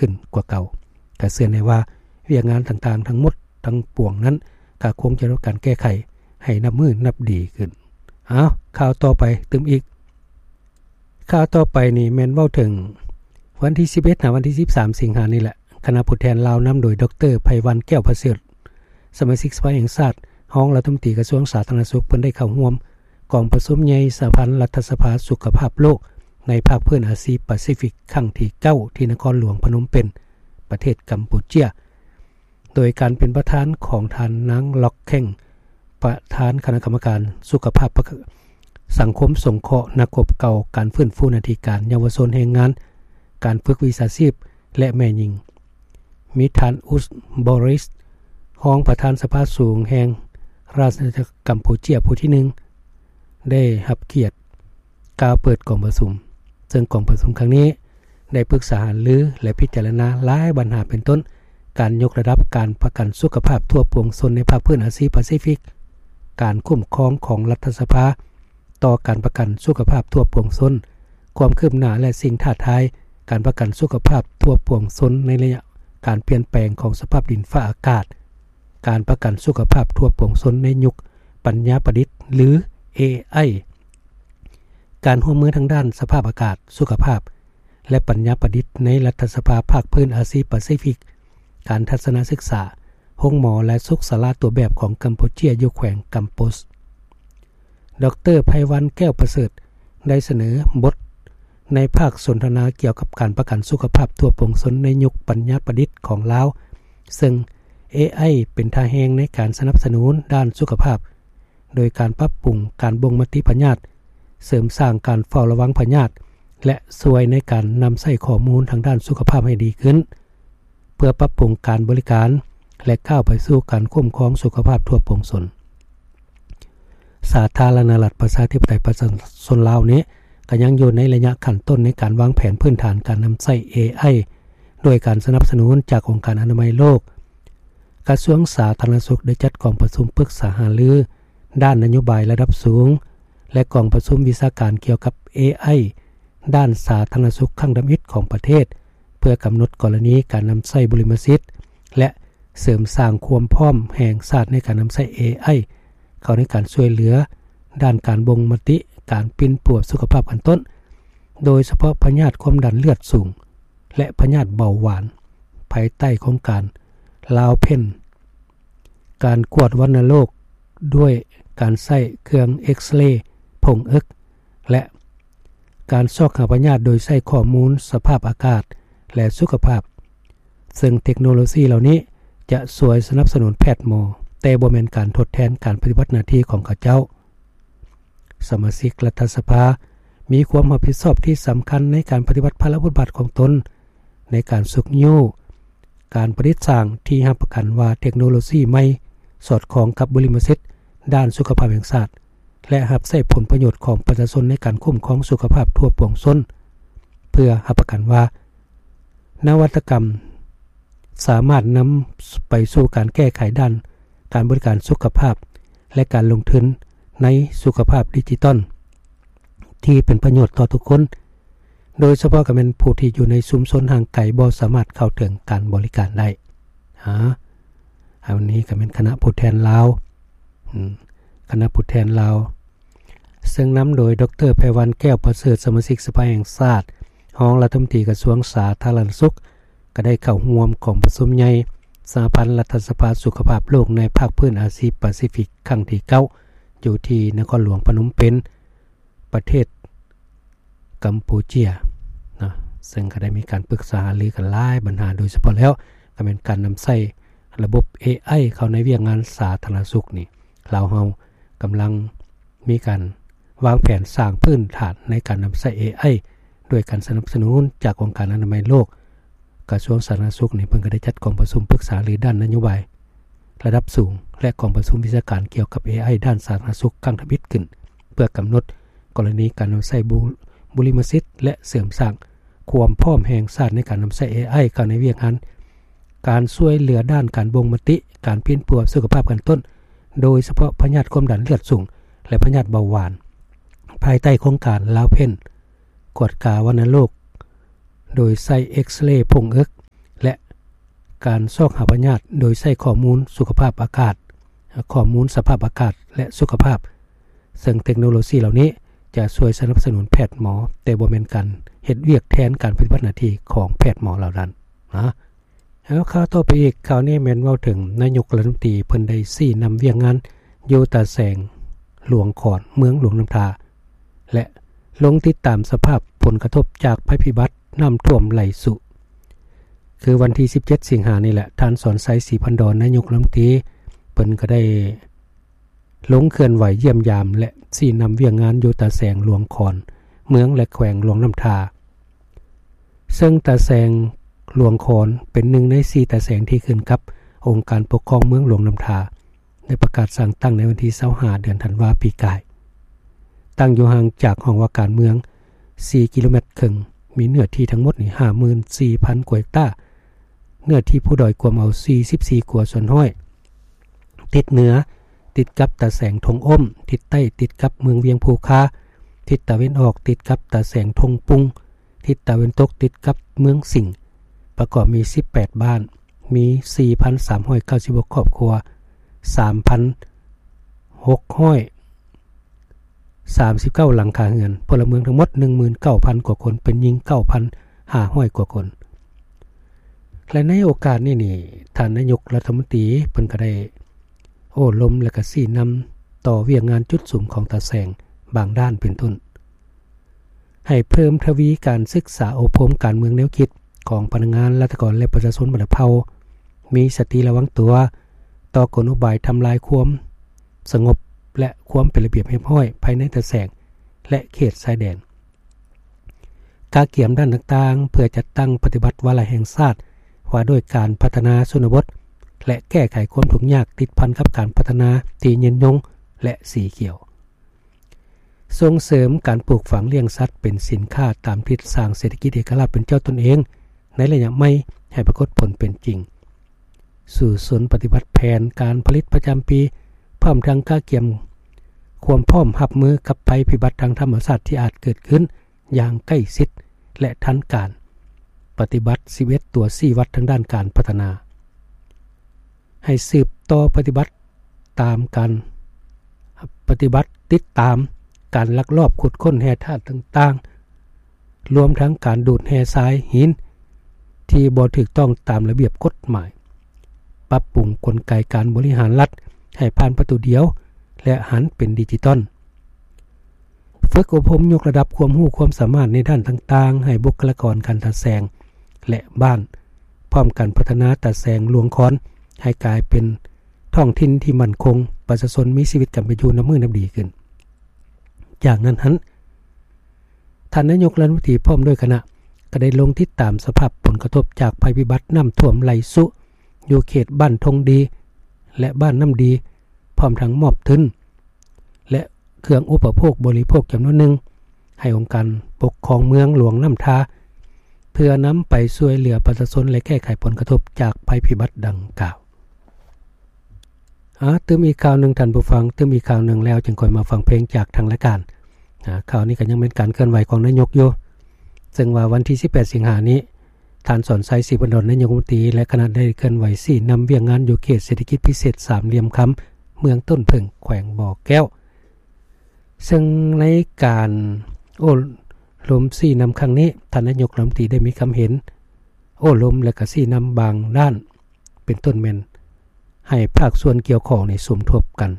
ຂຶ້ນກວ່າເກົ່າ. ກະເຊື່ອແນ່ວ່າວຽກງານຕ່າງໆທັງໝົດທັງປວງນັ້ນ ກະຄົງຈະໄດ້ຮັບການແກ້ໄຂໃຫ້ນັບມື້ນັບດີຂຶ້ນ. ອ້າວ ຂ່າວຕໍ່ໄປຕື່ມອີກ. ຂ່າວຕໍ່ໄປນີ້ແມ່ນເວົ້າເຖິງວັນທີສິບເອັດ ຫາວັນທີສິບສາມ ສິງຫານີ້ແຫຼະ, ຄະນະຜູ້ແທນລາວນຳໂດຍ ດອກເຕີ ໄພວັນ ແກ້ວປະເສີດ ສະມາຊິກສະພາແຫ່ງຊາດ, ຮອງລັດຖະມົນຕີກະຊວງສາທາລະນະສຸກ ເພິ່ນໄດ້ເຂົ້າຮ່ວມກອງປະຊຸມໃຫຍ່ສະຫະພັນລັດຖະສະພາສຸຂະພາບໂລກໃນພາກພື້ນອາຊີປາຊີຟິກຄັ້ງທີເກົ້າ ທີ່ນະຄອນຫຼວງພະນົມເປັນ ປະເທດກຳປູເຈຍ. ໂດຍການເປັນປະທານຂອງທ່ານນາງ ລັອກ ແຂ້ງ ປະທານຄະນະກຳມະການສຸຂະພາບ ປະ ສັງຄົມສົງເຄາະ ນັກຮົບເກົ່າ, ການຟື້ນຟູໜ້າທີ່ການ, ເຍົາວະຊົນ, ແຮງງານ, ການຝຶກວິຊາຊີບ ແລະ ແມ່ຍິງ, ມີທ່ານ ອຸສ ບໍຣິສ ຮອງປະທານສະພາສູງແຫ່ງລາຊະອານາຈັກກຳປູເຈຍຜູ້ທີໜຶ່ງ ໄດ້ຮັບກຽດ ກ່າວເປີດກອງປະຊຸມ, ເຊິ່ງກອງປະຊຸມຄັ້ງນີ້ໄດ້ປຶກສາຫາລື ແລະ ພິຈາລະນາຫຼາຍບັນຫາ ເປັນຕົ້ນ ການຍົກລະດັບການປະກັນສຸຂະພາບທົ່ວປວງຊົນໃນພາກພື້ນອາຊີປາຊີຟິກ, ການຄຸ້ມຄອງຂອງລັດຖະສະພາຕໍ່ການປະກັນສຸຂະພາບທົ່ວປວງຊົນ, ຄວາມຄືບໜ້າ ແລະ ສິ່ງທ້າທາຍການປະກັນສຸຂະພາບທົ່ວປວງຊົນໃນໄລຍະການປ່ຽນແປງຂອງສະພາບດິນຟ້າອາກາດ, ການປະກັນສຸຂະພາບທົ່ວປວງຊົນໃນຍຸກປັນຍາປະດິດ ຫຼື ເອໄອ, ການຮ່ວມມືທາງດ້ານສະພາບອາກາດ, ສຸຂະພາບ ແລະ ປັນຍາປະດິດໃນລັດຖະສະພາພາກພື້ນອາຊີປາຊີຟິກ, ການທັດສະນະສຶກສາ, ໂຮງໝໍ ແລະ ສຸກສາລາຕົວແບບຂອງກຳປູເຈຍຢູ່ແຂວງກຳໂປສ. ດອກເຕີ ໄພວັນ ແກ້ວປະເສີດ ໄດ້ສະເໜີບົດໃນພາກສົນທະນາກ່ຽວກັບການປະກັນສຸຂະພາບທົ່ວປວງຊົນໃນຍຸກປັນຍາປະດິດຂອງລາວ, ເຊິ່ງ ເອໄອ ເປັນທ່າແຮງໃນການສະໜັບສະໜູນດ້ານສຸຂະພາບ ໂດຍການປັບປຸງການບົ່ງມະຕິພະຍາດ, ເສີມສ້າງການເຝົ້າລະວັງພະຍາດ ແລະ ຊ່ວຍໃນການນຳໃຊ້ຂໍ້ມູນທາງດ້ານສຸຂະພາບໃຫ້ດີຂຶ້ນ, ເພື່ອປັບປຸງການບໍລິການ ແລະ ກ້າວໄປສູ່ການຄຸ້ມຄອງສຸຂະພາບທົ່ວປວງຊົນ. ສາທາລະນະລັດປະຊາທິປະໄຕປະຊາຊົນລາວນີ້ ກໍຍັງຢູ່ໃນໄລຍະຂັ້ນຕົ້ນໃນການວາງແຜນພື້ນຖານການນຳໃຊ້ ເອໄອ ດ້ວຍການສະໜັບສະໜູນຈາກອົງການອະນາໄມໂລກ. ກະຊວງສາທາລະນະສຸກໄດ້ຈັດກອງປະຊຸມປຶກສາຫາລືດ້ານນະໂຍບາຍລະດັບສູງ ແລະ ກອງປະຊຸມວິຊາການກ່ຽວກັບ ເອໄອ ດ້ານສາທາລະນະສຸກຄັ້ງທຳອິດຂອງປະເທດ ເພື່ອກຳນົດກໍລະນີການນຳໃຊ້ບຸລິມະສິດ ແລະ ເສີມສ້າງຄວາມພ້ອມແຫ່ງຊາດໃນການນຳໃຊ້ ເອໄອ ເຂົ້າໃນການຊ່ວຍເຫຼືອດ້ານການບົ່ງມະຕິ, ການປິ່ນປົວສຸຂະພາບຂັ້ນຕົ້ນ, ໂດຍສະເພາະພະຍາດຄວາມດັນເລືອດສູງ ແລະ ພະຍາດເບົາຫວານ, ພາຍໃຕ້ໂຄງການ ລາວເພັນ ການກວດວັນນະໂລກດ້ວຍການໃຊ້ເຄື່ອງເອັກສະເລຜົ້ງເອິກ ແລະ ການຊອກຫາພະຍາດໂດຍໃຊ້ຂໍ້ມູນສະພາບອາກາດ ແລະ ສຸຂະພາບ, ເຊິ່ງເຕັກໂນໂລຊີເຫຼົ່ານີ້ຈະຊ່ວຍສະໜັບສະໜູນແພດໝໍ, ແຕ່ບໍ່ແມ່ນການທົດແທນການປະຕິບັດໜ້າທີ່ຂອງເຂົາເຈົ້າ. ສະມາຊິກລັດຖະສະພາມີຄວາມຮັບຜິດຊອບທີ່ສຳຄັນໃນການປະຕິບັດພາລະບົດບາດຂອງຕົນ ໃນການຊຸກຍູ້ການປະດິດສ້າງທີ່ຮັບປະກັນວ່າເຕັກໂນໂລຊີໃໝ່ສອດຄ່ອງກັບບຸລິມະສິດດ້ານສຸຂະພາບແຫ່ງຊາດ ແລະ ຮັບໃຊ້ຜົນປະໂຫຍດຂອງປະຊາຊົນໃນການຄຸ້ມຄອງສຸຂະພາບທົ່ວປວງຊົນ, ເພື່ອຮັບປະກັນວ່ານະວັດຕະກຳສາມາດນຳໄປສູ່ການແກ້ໄຂດ້ານການບໍລິການສຸຂະພາບ ແລະ ການລົງທຶນໃນສຸຂະພາບດິຈິຕອນ ທີ່ເປັນປະໂຫຍດຕໍ່ທຸກຄົນ, ໂດຍສະເພາະກໍແມ່ນຜູ້ທີ່ຢູ່ໃນຊຸມຊົນຫ່າງໄກບໍ່ສາມາດເຂົ້າເຖິງການບໍລິການໄດ້. ອາ ອັນນີ້ກໍແມ່ນຄະນະຜູ້ແທນລາວ, ອາ ຄະນະຜູ້ແທນລາວ ເຊິ່ງນຳໂດຍ ດອກເຕີ ໄພວັນ ແກ້ວປະເສີດ ສະມາຊິກສະພາແຫ່ງຊາດ, ຮອງລັດຖະມົນຕີກະຊວງສາທາລະນະສຸກ, ກໍໄດ້ເຂົ້າຮ່ວມກອງປະຊຸມໃຫຍ່ສະຫະພັນລັດຖະສະພາສຸຂະພາບໂລກໃນພາກພື້ນອາຊີປາຊີຟິກຄັ້ງທີເກົ້າ ຢູ່ທີ່ນະຄອນຫຼວງພະນົມເປັນ ປະເທດກຳປູເຈຍເນາະ, ເຊິ່ງກໍໄດ້ມີການປຶກສາຫາລືກັນຫຼາຍບັນຫາ, ໂດຍສະເພາະແລ້ວກໍແມ່ນການນຳໃຊ້ລະບົບ ເອໄອ ເຂົ້າໃນວຽກງານສາທາລະນະສຸກນີ້. ລາວເຮົາກຳລັງມີການວາງແຜນສ້າງພື້ນຖານໃນການນຳໃຊ້ ເອໄອ ດ້ວຍການສະໜັບສະໜູນຈາກອົງການອະນາໄມໂລກ, ກະຊວງສາທາລະນະສຸກນີ້ ເພິ່ນກໍໄດ້ຈັດກອງປະຊຸມປຶກສາຫາລືດ້ານນະໂຍບາຍລະດັບສູງ ແລະ ກອງປະຊຸມວິຊາການກ່ຽວກັບ ເອໄອ ດ້ານສາທາລະນະສຸກຄັ້ງທຳອິດຂຶ້ນ ເພື່ອກຳນົດກໍລະນີການນຳໃຊ້ບຸ ບຸລິມະສິດ ແລະ ເສີມສ້າງຄວາມພ້ອມແຫ່ງຊາດໃນການນຳໃຊ້ ເອໄອ ເຂົ້າໃນວຽກງານການຊ່ວຍເຫຼືອດ້ານການບົ່ງມະຕິ, ການປິ່ນປົວສຸຂະພາບຂັ້ນຕົ້ນ, ໂດຍສະເພາະພະຍາດຄວາມດັນເລືອດສູງ ແລະ ພະຍາດເບົາຫວານ, ພາຍໃຕ້ໂຄງການລາວເພັນ ກວດກາວັນນະໂລກໂດຍໃຊ້ເອັກສະເລຜົ້ງເອິກ, ການຊອກຫາພະຍາດໂດຍໃຊ້ຂໍ້ມູນສຸຂະພາບອາກາດ, ຂໍ້ມູນສະພາບອາກາດ ແລະ ສຸຂະພາບ, ເຊິ່ງເຕັກໂນໂລຊີເຫຼົ່ານີ້ຈະຊ່ວຍສະໜັບສະໜູນແພດໝໍ, ແຕ່ບໍ່ແມ່ນການເຮັດວຽກແທນການປະຕິບັດໜ້າທີ່ຂອງແພດໝໍເຫຼົ່ານັ້ນນະ. ແລ້ວຂ່າວຕໍ່ໄປອີກ, ຂ່າວນີ້ແມ່ນເວົ້າເຖິງນາຍົກລັດຖະມົນຕີ ເພິ່ນໄດ້ຊີ້ນຳວຽກງານຢູ່ຕາແສງ, ຫຼວງຂອນ, ເມືອງຫຼວງນ້ຳທາ ແລະ ລົງຕິດຕາມສະພາບຜົນກະທົບຈາກໄພພິບັດນ້ຳຖ້ວມໄຫຼສຸ. ຄືວັນທີສິບເຈັດສິງຫານີ້ແຫຼະ, ທ່ານ ສອນໄຊ ສີພັນດອນ ນາຍົກລັດຖະມົນຕີ ເພິ່ນກໍໄດ້ ລົງເຄື່ອນໄຫວຢ້ຽມຢາມ ແລະ ຊີ້ນຳວຽກງານຢູ່ຕາແສງ, ຫຼວງຂອນ, ເມືອງ ແລະ ແຂວງຫຼວງນ້ຳທາ. ເຊິ່ງຕາແສງ, ຫຼວງຂອນ ເປັນໜຶ່ງໃນສີ່ຕາແສງທີ່ຂຶ້ນກັບອົງການປົກຄອງເມືອງຫຼວງນ້ຳທາ, ໄດ້ປະກາດສ້າງຕັ້ງໃນວັນທີຊາວຫ້າ ເດືອນທັນວາ ປີກາຍ. ຕັ້ງຢູ່ຫ່າງຈາກຫ້ອງວ່າການເມືອງສີ່ກິໂລແມັດເຄິ່ງ, ມີເນື້ອທີ່ທັງໝົດນີ້ຫ້າໝື່ນສີ່ພັນກວ່າເຮັກຕາ, ເນື້ອທີ່ພູດອຍກວມເອົາສີ່ສິບສີ່ກວ່າສ່ວນຮ້ອຍ. ທິດເໜືອຕິດກັບຕາແສງທົ່ງອົ້ມ, ທິດໃຕ້ຕິດກັບເມືອງວຽງພູຄາ, ທິດຕາເວັນອອກຕິດກັບຕາແສງທົ່ງປຸງ, ທິດຕາເວັນຕົກຕິດກັບເມືອງສິງ. ປະກອບມີສິບແປດບ້ານ, ມີສີ່ພັນສາມຮ້ອຍເກົ້າສິບຫົກຄອບຄົວ, ສາມພັນຫົກຮ້ອຍ ສາມສິບເກົ້າຫຼັງຄາເຮືອນ, ພົນລະເມືອງທັງໝົດໜຶ່ງໝື່ນເກົ້າພັນກວ່າຄົນ, ເປັນຍິງເກົ້າພັນຫ້າຮ້ອຍກວ່າຄົນ. ແລະ ໃນໂອກາດນີ້ນີ້, ທ່ານນາຍົກລັດຖະມົນຕີເພິ່ນກໍໄດ້ໂອ້ລົມ ແລະ ກໍຊີ້ນຳຕໍ່ວຽກງານຈຸດສຸມຂອງຕາແສງບາງດ້ານເປັນຕົ້ນ, ໃຫ້ເພີ່ມທະວີການສຶກສາອົບຮົມການເມືອງແນວຄິດຂອງພະນັກງານ, ລັດຖະກອນ ແລະ ປະຊາຊົນບັນດາເຜົ່າ, ມີສະຕິລະວັງຕົວຕໍ່ກົນອຸບາຍທຳລາຍຄວາມສະຫງົບ ແລະ ຄວາມເປັນລະບຽບຮຽບຮ້ອຍພາຍໃນຕາແສງ ແລະ ເຂດຊາຍແດນ. ກະກຽມດ້ານຕ່າງໆ ເພື່ອຈັດຕັ້ງປະຕິບັດວາລະແຫ່ງຊາດວ່າດ້ວຍການພັດທະນາຊົນນະບົດ ແລະ ແກ້ໄຂຄວາມທຸກຍາກຕິດພັນກັບການພັດທະນາທີ່ຍືນຍົງ ແລະ ສີຂຽວ. ສົ່ງເສີມການປູກຝັງລ້ຽງສັດເປັນສິນຄ້າຕາມທິດສ້າງເສດຖະກິດເອກະລາດເປັນເຈົ້າຕົນເອງໃນໄລຍະໃໝ່ໃຫ້ປາກົດຜົນເປັນຈິງ. ສູ້ຊົນປະຕິບັດແຜນການຜະລິດປະຈຳປີ, ພ້ອມທັງກະກຽມຄວາມພ້ອມຮັບມືກັບໄພພິບັດທາງທຳມະຊາດທີ່ອາດເກີດຂຶ້ນຢ່າງໃກ້ຊິດ ແລະ ທັນການ. ປະຕິບັດສິບເອັດຕົວຊີ້ວັດທາງດ້ານການພັດທະນາ. ໃຫ້ສືບຕໍ່ປະຕິບັດຕາມການ ປະຕິບັດຕິດຕາມການລັກລອບຂຸດຄົ້ນແຮ່ທາດຕ່າງໆ, ລວມທັງການດູດແຮ່ຊາຍຫີນທີ່ບໍ່ຖືກຕ້ອງຕາມລະບຽບກົດໝາຍ, ປັບປຸງກົນໄກການບໍລິຫານລັດໃຫ້ຜ່ານປະຕູດຽວ ແລະ ຫັນເປັນດິຈິຕອນ. ຝຶກອົບຮົມຍົກລະດັບຄວາມຮູ້ຄວາມສາມາດໃນດ້ານຕ່າງໆ ໃຫ້ບຸກຄະລາກອນການຕາແສງ ແລະ ບ້ານ, ພ້ອມກັນພັດທະນາຕາແສງຫຼວງຄອນໃຫ້ກາຍເປັນທ້ອງຖິ່ນທີ່ໝັ້ນຄົງ, ປະຊາຊົນມີຊີວິດການເປັນຢູ່ນັບມື້ນັບດີຂຶ້ນ. ຈາກນັ້ນຫັ້ນ, ທ່ານນາຍົກລັດຖະມົນຕີພ້ອມດ້ວຍຄະນະ ກໍໄດ້ລົງຕິດຕາມສະພາບຜົນກະທົບຈາກໄພພິບັດນ້ຳຖ້ວມໄຫຼສຸ ຢູ່ເຂດບ້ານທົ່ງດີ ແລະ ບ້ານນ້ຳດີ, ພ້ອມທັງມອບທຶນ ແລະ ເຄື່ອງອຸປະໂພກບໍລິໂພກຈຳນວນໜຶ່ງ ໃຫ້ອົງການປົກຄອງເມືອງຫຼວງນ້ຳທາ ເພື່ອນຳໄປຊ່ວຍເຫຼືອປະຊາຊົນ ແລະ ແກ້ໄຂຜົນກະທົບຈາກໄພພິບັດດັ່ງກ່າວ. ອາ, ຕື່ມອີກຂ່າວໜຶ່ງທ່ານຜູ້ຟັງ, ຕື່ມອີກຂ່າວໜຶ່ງແລ້ວຈຶ່ງຄ່ອຍມາຟັງເພງຈາກທາງລາຍການ. ອາ, ຂ່າວນີ້ກໍຍັງເປັນການເຄື່ອນໄຫວຂອງນາຍົກຢູ່, ເຊິ່ງວ່າວັນທີສິບແປດສິງຫານີ້, ທ່ານ ສອນໄຊ ສີພັນດອນ ນາຍົກລັດຖະມົນຕີ ແລະ ຄະນະໄດ້ເຄື່ອນໄຫວຊີ້ນຳວຽກງານຢູ່ເຂດເສດຖະກິດພິເສດສາມຫຼ່ຽມຄຳ ເມືອງຕົ້ນເຜິ້ງ ແຂວງບໍ່ແກ້ວ. ເຊິ່ງໃນການໂອ້ລົມຊີ້ນຳຄັ້ງນີ້, ທ່ານນາຍົກລັດຖະມົນຕີໄດ້ມີຄຳເຫັນໂອ້ລົມ ແລະ ກະຊີ້ນຳບາງດ້ານ, ເປັນຕົ້ນແມ່ນໃຫ້ພາກສ່ວນກ່ຽວຂ້ອງນີ້ສົມທົບກັນ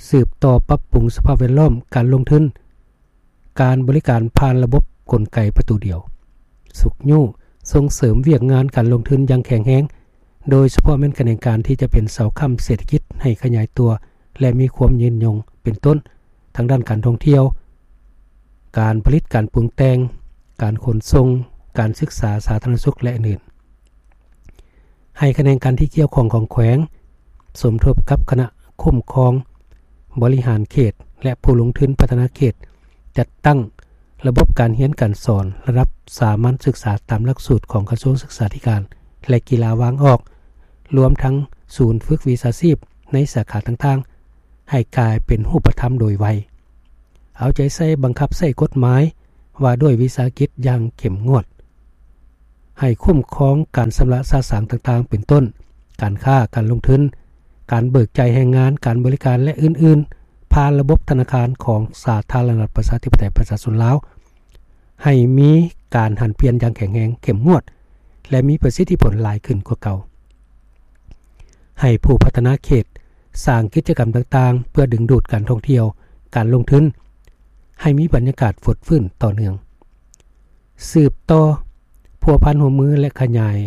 ສືບຕໍ່ປັບປຸງສະພາບແວດລ້ອມການລົງທຶນ, ການບໍລິການຜ່ານລະບົບກົນໄກປະຕູດຽວ, ຊຸກຍູ້ສົ່ງເສີມວຽກງານການລົງທຶນຢ່າງແຂງແຮງ, ໂດຍສະເພາະແມ່ນຂະແໜງການທີ່ຈະເປັນເສົາຄ້ຳເສດຖະກິດໃຫ້ຂະຫຍາຍຕົວ ແລະ ມີຄວາມຍືນຍົງ, ເປັນຕົ້ນ ທາງດ້ານການທ່ອງທ່ຽວ, ການຜະລິດ, ການປຸງແຕ່ງ, ການຂົນສົ່ງ, ການສຶກສາສາທາລະນະສຸກ ແລະ ອື່ນໆ. ໃຫ້ຂະແໜງການທີ່ກ່ຽວຂ້ອງຂອງແຂວງ ສົມທົບກັບຄະນະຄຸ້ມຄອງບໍລິຫານເຂດ ແລະ ຜູ້ລົງທຶນພັດທະນາເຂດ ຈັດຕັ້ງລະບົບການຮຽນການສອນລະດັບສາມັນສຶກສາຕາມຫຼັກສູດຂອງກະຊວງສຶກສາທິການ ແລະ ກິລາວາງອອກ, ລວມທັງສູນຝຶກວິຊາຊີບໃນສາຂາຕ່າງໆ ໃຫ້ກາຍເປັນຮູບປະທຳໂດຍໄວ. ເອົາໃຈໃສ່ບັງຄັບໃຊ້ກົດໝາຍວ່າດ້ວຍວິສາຫະກິດຢ່າງເຂັ້ມງວດ. ໃຫ້ຄຸ້ມຄອງການຊຳລະສະສາງຕ່າງໆ ເປັນຕົ້ນ ການຄ້າ, ການລົງທຶນ, ການເບີກຈ່າຍແຮງງານ, ການບໍລິການ ແລະ ອື່ນໆ ຜ່ານລະບົບທະນາຄານຂອງສາທາລະນະລັດ ປະຊາທິປະໄຕ ປະຊາຊົນລາວ ໃຫ້ມີການຫັນປ່ຽນຢ່າງແຂງແຮງ, ເຂັ້ມງວດ ແລະ ມີປະສິດທິຜົນຫຼາຍຂຶ້ນກວ່າເກົ່າ. ໃຫ້ຜູ້ພັດທະນາເຂດສ້າງກິດຈະກຳຕ່າງໆ ເພື່ອດຶງດູດການທ່ອງທ່ຽວ, ການລົງທຶນ ໃຫ້ມີບັນຍາກາດຟົດຟື້ນຕໍ່ເນື່ອງ. ສືບຕໍ່ພົວພັນຮ່ວມມື ແລະ ຂະຫຍາຍ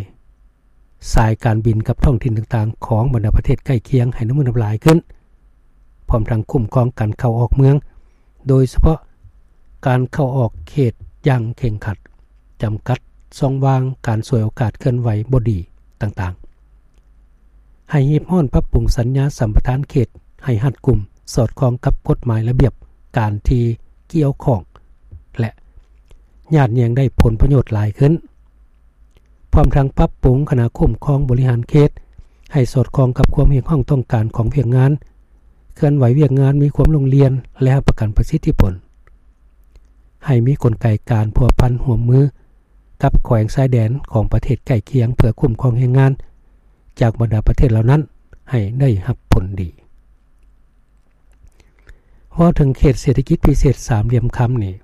ສາຍການບິນກັບທ້ອງຖິ່ນຕ່າງໆ ຂອງບັນດາປະເທດໃກ້ຄຽງໃຫ້ໜາແໜ້ນຫຼາຍຂຶ້ນ, ພ້ອມທັງຄຸ້ມຄອງການເຂົ້າອອກເມືອງ, ໂດຍສະເພາະການເຂົ້າອອກເຂດຢ່າງເຄັ່ງຄັດ, ຈຳກັດຊ່ອງວ່າງການສວຍໂອກາດເຄື່ອນໄຫວບໍ່ດີຕ່າງໆ. ໃຫ້ຮີບຮ້ອນປັບປຸງສັນຍາສຳປະທານເຂດໃຫ້ຮັດກຸມ, ສອດຄ່ອງກັບກົດໝາຍລະບຽບການທີ່ກ່ຽວຂ້ອງ ແລະ ຍາດແຍ່ງໄດ້ຜົນປະໂຫຍດຫຼາຍຂຶ້ນ, ພ້ອມທັງປັບປຸງຄະນະຄຸ້ມຄອງບໍລິຫານເຂດໃຫ້ສອດຄ່ອງກັບຄວາມຮຽກຮ້ອງຕ້ອງການຂອງວຽກງານ, ເຄື່ອນໄຫວວຽກງານມີຄວາມໂລ່ງລ່ຽນ ແລະ ຮັບປະກັນປະສິດທິຜົນ. ໃຫ້ມີກົນໄກການພົວພັນຮ່ວມມື ກັບແຂວງຊາຍແດນຂອງປະເທດໃກ້ຄຽງ ເພື່ອຄຸ້ມຄອງແຮງງານຈາກບັນດາປະເທດເຫຼົ່ານັ້ນໃຫ້ໄດ້ຮັບຜົນດີ. ເວົ້າເຖິງເຂດເສດຖະກິດພິເສດສາມຫຼ່ຽມຄຳນີ້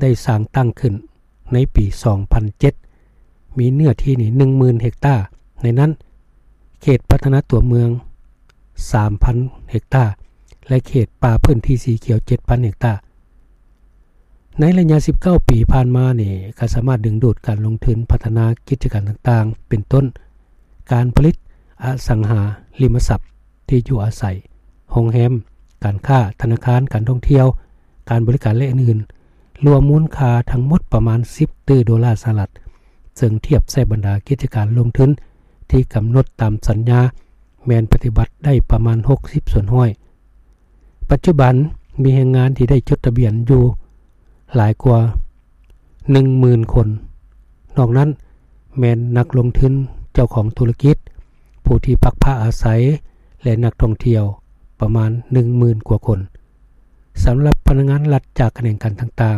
ໄດ້ສ້າງຕັ້ງຂຶ້ນໃນປີສອງພັນເຈັດ ມີເນື້ອທີ່ນີ້ໜຶ່ງໝື່ນເຮັກຕາ, ໃນນັ້ນເຂດພັດທະນາຕົວເມືອງສາມພັນເຮັກຕາ ແລະ ເຂດປ່າພື້ນທີ່ສີຂຽວເຈັດພັນເຮັກຕາ. ໃນໄລຍະສິບເກົ້າປີຜ່ານມານີ້ ກໍສາມາດດຶງດູດການລົງທຶນພັດທະນາກິດຈະການຕ່າງໆ ເປັນຕົ້ນ ການຜະລິດອະສັງຫາລິມະຊັບທີ່ຢູ່ອາໄສ, ໂຮງແຮມ, ການຄ້າ, ທະນາຄານ, ການທ່ອງທ່ຽວ, ການບໍລິການ ແລະ ອື່ນໆ ລວມມູນຄ່າທັງໝົດປະມານສິບຕື້ໂດລາສະຫະລັດ, ເຊິ່ງທຽບໃສ່ບັນດາກິດຈະການລົງທຶນທີ່ກຳນົດຕາມສັນຍາ ແມ່ນປະຕິບັດໄດ້ປະມານຫົກສິບສ່ວນຮ້ອຍ. ປັດຈຸບັນມີແຮງງານທີ່ໄດ້ຈົດທະບຽນຢູ່ຫຼາຍກວ່າໜຶ່ງໝື່ນຄົນ, ນອກນັ້ນແມ່ນນັກລົງທຶນ, ເຈົ້າຂອງທຸລະກິດ, ຜູ້ທີ່ພັກພາອາໄສ ແລະ ນັກທ່ອງທ່ຽວປະມານໜຶ່ງໝື່ນກວ່າຄົນ. ສຳລັບພະນັກງານລັດຈາກຂະແໜງການຕ່າງ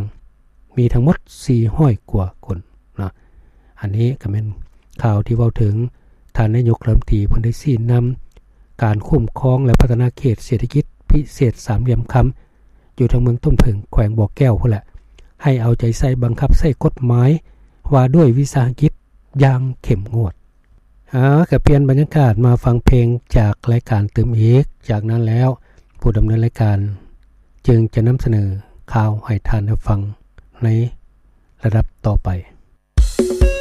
ໆ ມີທັງໝົດສີ່ຮ້ອຍກວ່າຄົນເນາະ. ອັນນີ້ກໍແມ່ນຂ່າວທີ່ເວົ້າເຖິງ ທ່ານນາຍົກລັດຖະມົນຕີເພິ່ນໄດ້ຊີ້ນຳການຄຸ້ມຄອງ ແລະ ພັດທະນາເຂດເສດຖະກິດພິເສດສາມຫຼ່ຽມຄຳ ຢູ່ທາງເມືອງຕົ້ນເຜິ້ງ ແຂວງບໍ່ແກ້ວພຸ້ນແຫຼະ ໃຫ້ເອົາໃຈໃສ່ບັງຄັບໃຊ້ກົດໝາຍວ່າດ້ວຍວິສາຫະກິດຢ່າງເຂັ້ມງວດ. ເອົາ ກໍປ່ຽນບັນຍາກາດມາຟັງເພງຈາກລາຍການຕື່ມອີກ. ຈາກນັ້ນແລ້ວ ຜູ້ດຳເນີນລາຍການຈຶ່ງຈະນຳສະເໜີຂ່າວໃຫ້ທ່ານໄດ້ຟັງໃນລະດັບຕໍ່ໄປ.